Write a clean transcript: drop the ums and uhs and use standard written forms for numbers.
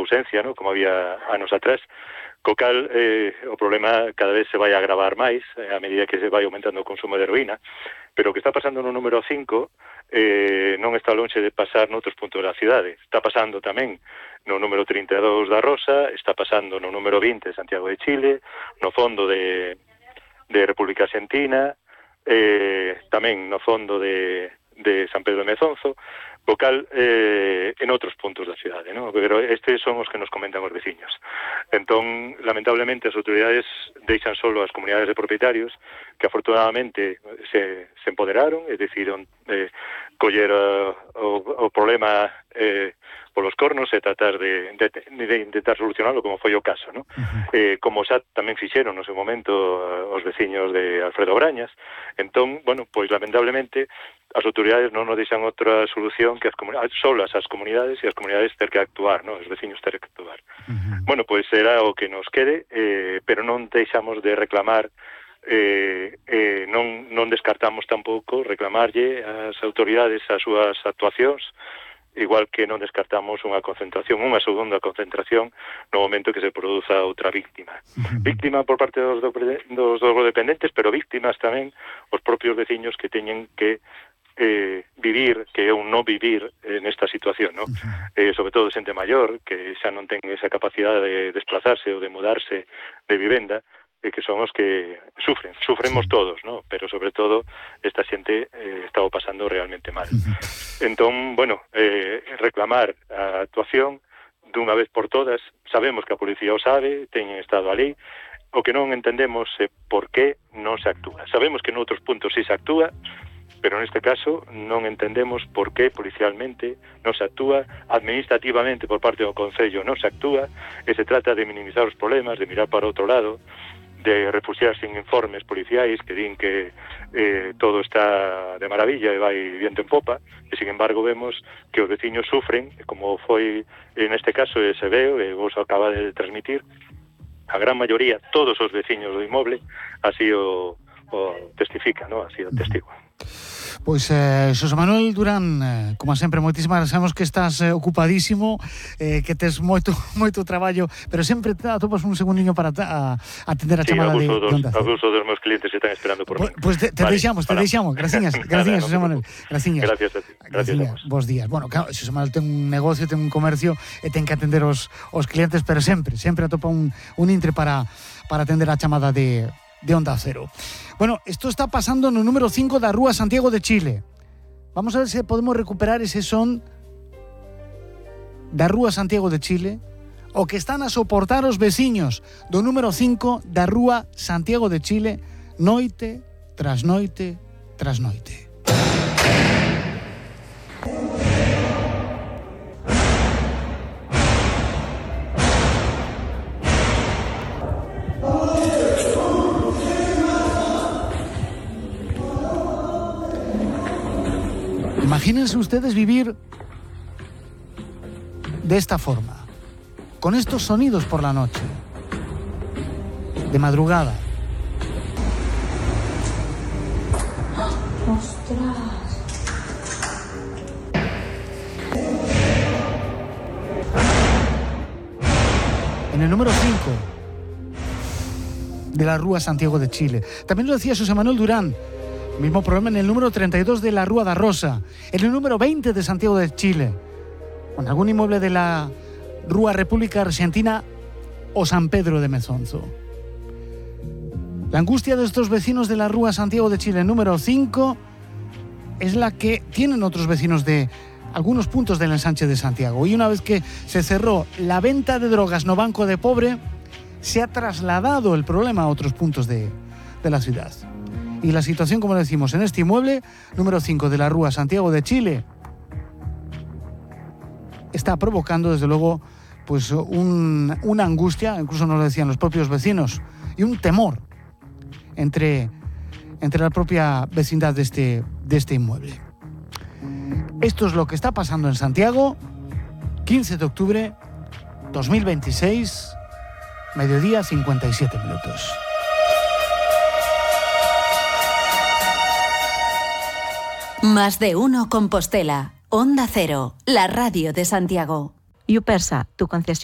ausencia, ¿no? Como había anos atrás, co cal o problema cada vez se vai a agravar máis a medida que se vai aumentando o consumo de heroína, pero o que está pasando no número 5 non está lonxe de pasar noutros puntos da cidade. Está pasando tamén no número 32 da Rosa, está pasando no número 20 de Santiago de Chile, no fondo de República Argentina, tamén no fondo de San Pedro de Mezonzo, vocal en outros puntos da cidade, ¿no? Pero estes son os que nos comentan os veciños. Entón, lamentablemente, as autoridades deixan solo as comunidades de propietarios que afortunadamente se empoderaron e decidiron coller o problema polos cornos e tratar de intentar solucionarlo, como foi o caso, ¿no? Como xa tamén fixeron no seu momento os veciños de Alfredo Brañas. Entón, bueno, pois lamentablemente as autoridades non nos deixan outra solución que solas as comunidades e as comunidades ter que actuar, ¿no? Os veciños ter que actuar. Bueno, pois será o que nos quede, pero non deixamos de reclamar, non descartamos tampouco reclamarlle ás autoridades as súas actuacións, igual que non descartamos unha segunda concentración no momento que se produza outra víctima. Víctima por parte dos dependentes, pero víctimas tamén os propios veciños que teñen que vivir, que é un non vivir nesta situación, ¿no? Sobre todo xente maior, que xa non ten esa capacidade de desplazarse ou de mudarse de vivenda, que son os que sufremos todos, ¿no? Pero sobre todo esta xente está pasando realmente mal. Entón, bueno, reclamar a actuación dunha vez por todas. Sabemos que a policía o sabe, teñen estado ali. O que non entendemos é por que non se actúa. Sabemos que noutros puntos sí se actúa, pero neste caso non entendemos por que policialmente non se actúa, administrativamente por parte do Concello non se actúa, e se trata de minimizar os problemas, de mirar para outro lado, de refugiarse en informes policiais que din que todo está de maravilla e vai viento en popa, e sin embargo vemos que os veciños sufren, como foi neste caso e se veo, e vos acaba de transmitir, a gran maioría, todos os veciños do inmoble, así o testifica, ¿no? Así o testigo. Pois Xosé Manuel Durán, como sempre, moitísimas gracias. Sabemos que estás ocupadísimo, que tes moito traballo, pero sempre atopas un segundiño para atender a chamada de Onda Cero. Abuso dos meus clientes que están esperando por mí. Pois te deixamos. Graciñas, Xosé Manuel. Graciñas. Gracias a ti. Gracias a vos. Bos días. Bueno, claro, Xosé Manuel ten un negocio, ten un comercio e ten que atender os clientes, pero sempre atopa un intre para atender a chamada de Onda Cero. Bueno, esto está pasando no número 5 da Rúa Santiago de Chile. Vamos a ver se podemos recuperar ese son da Rúa Santiago de Chile, o que están a soportar os veciños do número 5 da Rúa Santiago de Chile, noite tras noite tras noite. Imagínense ustedes vivir de esta forma, con estos sonidos por la noche, de madrugada. ¡Ostras! En el número 5 de la Rúa Santiago de Chile. También lo decía Xosé Manuel Durán. Mismo problema en el número 32 de la Rúa da Rosa, en el número 20 de Santiago de Chile, o en algún inmueble de la Rúa República Argentina o San Pedro de Mezonzo. La angustia de estos vecinos de la Rúa Santiago de Chile, número 5, es la que tienen otros vecinos de algunos puntos del ensanche de Santiago. Y una vez que se cerró la venta de drogas no banco de pobre, se ha trasladado el problema a otros puntos de la ciudad. Y la situación, como decimos, en este inmueble, número 5 de la Rúa Santiago de Chile, está provocando, desde luego, pues una angustia, incluso nos lo decían los propios vecinos, y un temor entre la propia vecindad de este inmueble. Esto es lo que está pasando en Santiago, 15 de octubre 2026, mediodía 57 minutos. Más de uno Compostela. Onda Cero, la radio de Santiago. Yupersa, tu concesión.